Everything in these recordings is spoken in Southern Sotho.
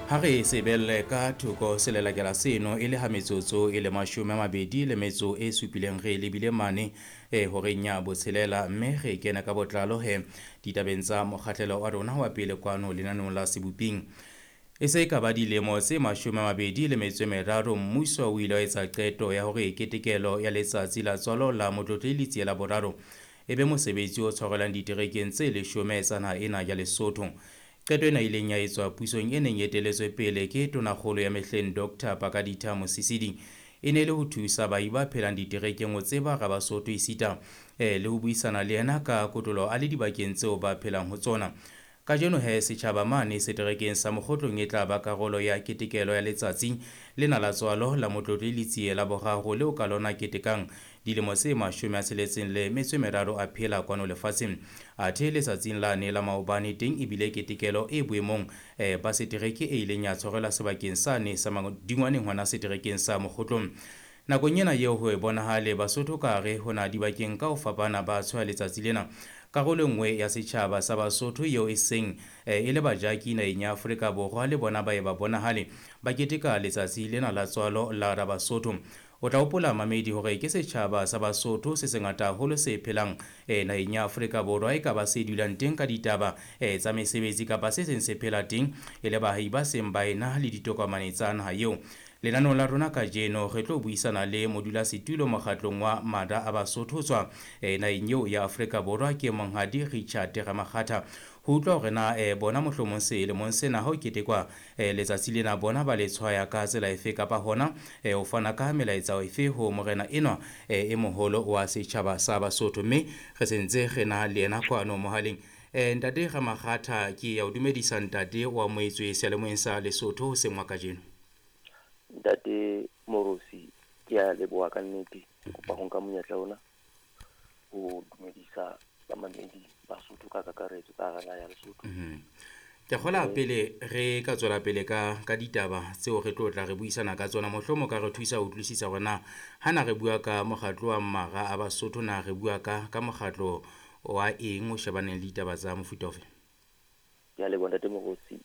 Ha re sebelle ka thoko selelekela seno e le ha metsotso e le 27 re lebile mane horeng ya 6, mme re kena ka botlalo he ditabeng tsa mokgahlelo wa rona wa pele kwano lenaneong la Seboping. E se ka ba dilemo tse 23 mmuso o ile wa etsa qeto ya hore ketekelo ya letsatsi la tswalo la Motlotlehi Letsie la Boraro e be mosebetsi o tshwarelwang diterekeng tse 10 tsa naha ena ya Lesotho. Qeto ena ileng ya etswa pusong e neng e eteletswe pele ke tonakgolo ya mehleng Dr. Pakaditha Mosisili e ne le ho thusa baahi ba phelang diterekeng ho tseba Rabasotho esita le ho buisana le yena ka kotloloho a le dibakeng tseo ba phelang ho tsona. Kajeno he setjhaba mane seterekeng sa Mokgotlong e tla ba karolo ya ketekelo ya letsatsi lena la tswalo la Motlotlehi Letsie la Boraro leo ka lona ketekang dilemo tse 63 a phela kwano lefatsheng. Athe letsatsing lane la maobane teng ebile ketekelo e boemong ba setereke e ileng ya tshwarelwa sebakeng sane sa Madingwaneng hona seterekeng sa Mokgotlong. Nakong ena eo ho e bonahale Basotho ka hare ho na dibakeng ka ho fapana ba tshwaya letsatsi lena. Karolo e nngwe ya setjhaba sa Basotho eo e seng e le bajaki naheng ya Afrika Borwa le bona ba e ba bonahale ba keteka letsatsi lena la tswalo la Rabasotho. O tla hopola mamedi hore ke setjhaba sa Basotho se sengata haholo se phelang naheng ya Afrika Borwa, e ka ba se dulang teng ka ditaba tsa mesebetsi kapa se seng se phela teng e le baahi ba seng ba ena le ditokomane tsa naha eo. Lenaneong la rona kajeno re tlo buisana le modulasetulo mokgatlong wa Mada a Basotho tswa naheng eo ya Afrika Borwa ke Monghadi Richard Ramakgatha. Ho utlwa hore na bona mohlomong selemong sena ha ho ketekwa letsatsi lena bona ba le tshwaya ka tsela efe kapa hona ho fana ka melaetsa efe ho morena enwa e moholo wa setjhaba sa Basotho, mme re sentse re na le yena kwano mohaleng. Ntate Ramakgatha, ke ya o dumedisa ntate wa moetswe seyalemoyeng sa Lesotho hoseng wa kajeno. Ntate Morosi, ke a leboha ka nnete. Ke kopa ho nka monyetla ona ho dumedisa bamamedi Basotho ka kakaretso ka hara naha ya Lesotho. Ke kgola pele re ka tswela pele ka ditaba tseo re tlo tla re buisana ka tsona, mohlomong ka re thusa ho utlwisisa hore na ha na re bua ka mokgatlo wa Mara a Basotho, na re bua ka mokgatlo wa eng o shebaneng le ditaba tsa mofuta ofe? Ke a leboha Ntate Morosi.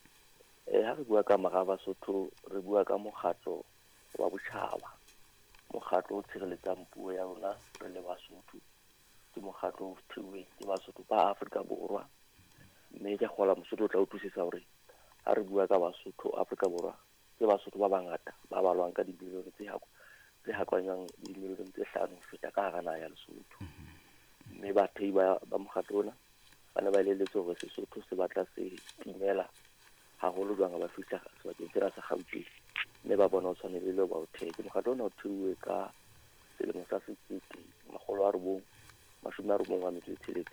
Ha re bua ka Mara a Basotho, re bua ka mokgatlo wa botjhaba, mokgatlo o tshireletsang puo ya rona re le Basotho. Ke mokgatlo o theuweng ke Basotho ba Afrika Borwa, mme ke kgola Mosotho o tla utlwisisa hore ha re bua ka Basotho Afrika Borwa, ke Basotho ba bangata ba balwang ka dimilione tse hakwanyang dimilione tse 5 ho feta ka hara naha ya Lesotho. Mme bathei ba mokgatlo ona ba ne ba elelletswe hore Sesotho se batla se timela haholo jwang ha ba fihla sebakeng sena sa Gauteng, mme ba bona ho tshwanelehile ba o thehe. Ke mokgatlo ona o theuwe ka selemo sa 1996,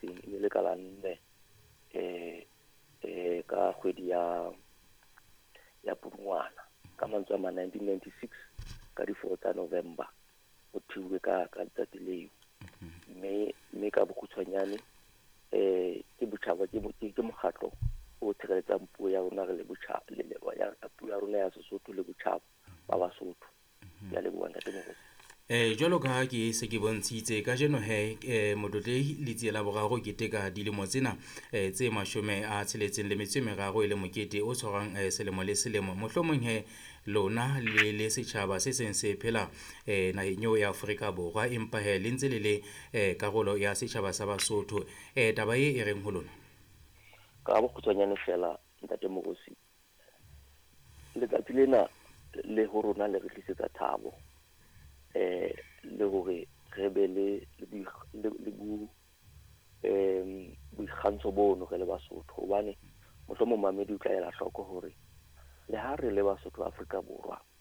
e ne le ka la 4 ka kgwedi ya Pudungwana, ka mantswe a mang 1996 ka di 4 tsa November o theuwe ka letsatsi leo. Mme ka bokgutshwanyane ke botjhaba, ke mokgatlo o tshireletsang puo ya rona re le botjhaba, le ya puo ya rona ya Sesotho le botjhaba ba Basotho. Ke a leboha Ntate Morosi. Jwalo ka ha ke se ke bontshitse kajeno he Motlotlehi Letsie la Boraro keteka dilemo tsena tse 63 e le mokete o tshwarwang selemo le selemo. Mohlomong he lona le le setjhaba se seng se phela naheng eo ya Afrika Borwa, empa he le ntse le le karolo ya setjhaba sa Basotho. Taba e reng ho lona? Ka bokgutshwanyane fela Ntate Morosi, letsatsi lena le ho rona le re tlisetsa thabo, le hore re be le boikgantsho bono re le Basotho, hobane mohlomong mamedi o tla ela hloko hore le ha re le Basotho Afrika Borwa